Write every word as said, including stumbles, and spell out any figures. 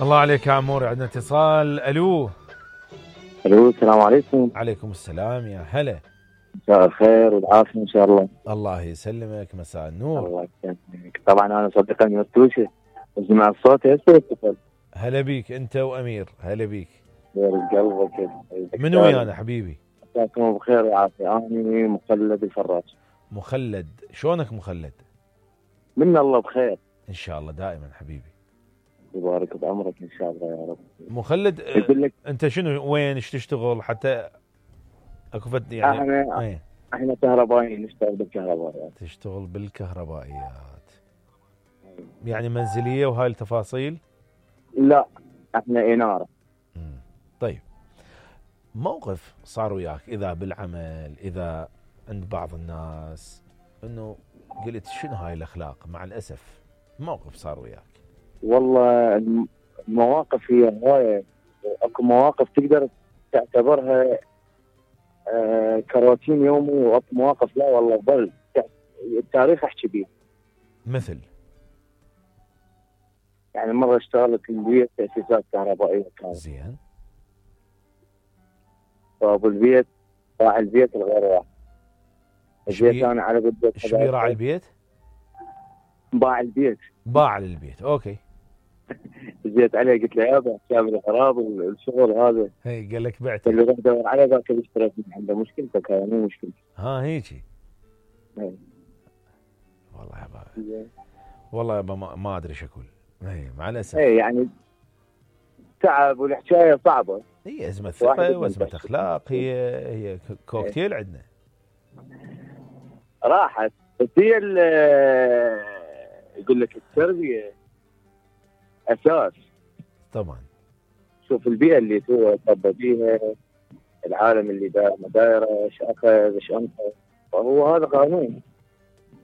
الله عليك يا عموري. عندنا اتصال. الو. الو السلام عليكم. عليكم السلام يا هلا. مساء الخير والعافيه ان شاء الله. الله يسلمك. مساء النور. الله يسلمك. طبعا انا صديق المفتوشه اسمع الصوت هسه. هلا بيك انت وامير. هلا بيك. خير قلبك. من ويانا حبيبي؟ مساكم بخير وعافيه. انا مخلد الفراش. مخلد. شلونك مخلد؟ من الله بخير ان شاء الله دائما حبيبي. يبارك بعمرك ان شاء الله يا رب. مخلد لك انت شنو وين ايش تشتغل حتى اكو فد يعني؟ احنا ايه؟ احنا كهربائيين نشتغل بالكهربائيات. تشتغل بالكهربائيات يعني منزليه وهاي التفاصيل؟ لا احنا اناره. مم. طيب موقف صار وياك اذا بالعمل اذا عند بعض الناس انه قلت شنو هاي الاخلاق؟ مع الاسف موقف صار وياك. والله المواقف هي هوايه. اكو مواقف تقدر تعتبرها آه كروتين يومي، واكو مواقف لا والله ظل التاريخ احكي بيه. مثل يعني مره اشتغلت بالبيت تاسيسات كهربائيه كانت زين. فابو البيت راعي البيت الغير واحد. جيت انا على قد ايش بيه راعي البيت؟ باع البيت. باع للبيت. اوكي. جيت عليه قلت له يابا حساب الخراب الشغل هذا. هي قال لك بعته. اللي روح دور على ذاك اللي اشتريت من عنده. مشكلتك هاي مو مشكلتي. ها هيجي. هي. والله يابا والله يابا ما, ما ادري ايش اقول. اي مع الاسف. اي يعني تعب والحكايه صعبه. هي ازمه ثقه وازمه اخلاق. هي هي كوكتيل عندنا. راحت بس هي يقول لك التربيه اساس. طبعا. شوف البيئه اللي هو تربى فيها، العالم اللي داير ما دايره، ايش اخذ ايش انفق، فهو هذا قانون.